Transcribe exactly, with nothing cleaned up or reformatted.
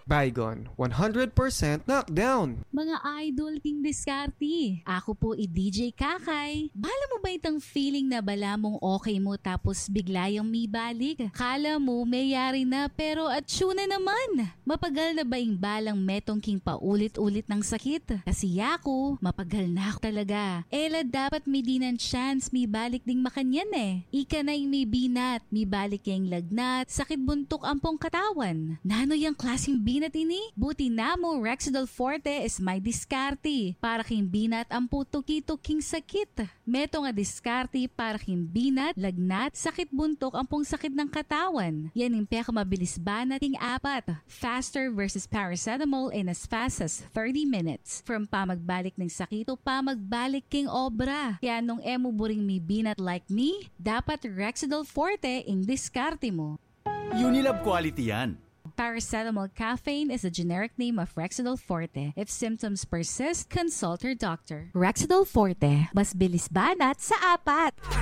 Baygon, one hundred percent knockdown. Mga idol king diskarte, aku pu i D J Kakay. Bala mu ba itang feeling na bala mung okay mu tapos bigla yang mibalik? Kala mu meyari na pero atsu na naman. Mapagal na ba ing balang metung king paulit-ulit nang sakit? Kasi yaku, mapagal na ku talaga. E la dapat midinan chance mibalik ding makanyan e. Ika na ing mibinat, mibalik ya ing lagnat, sakit buntuk ampong katawan. Nanu yang klasing binat ini? Buti namu Rexidol Forte is may diskarte para king binat ampo tuki-tuking sakit. Metung a diskarte para king binat, lagnat, sakit buntuk ampong sakit nang katawan. Yan ing pekamabilis banat king apat. Faster versus paracetamol in as fast as thirty minutes. From pamagbalik ning sakit to pamagbalik king obra. Kaya nung e mu buring mibinat like me, dapat Rexidol Forte ing diskarte mu. Unilab quality yan. Paracetamol caffeine is a generic name of Rexidol Forte. If symptoms persist, consult your doctor. Rexidol Forte, mas bilis banat sa apat.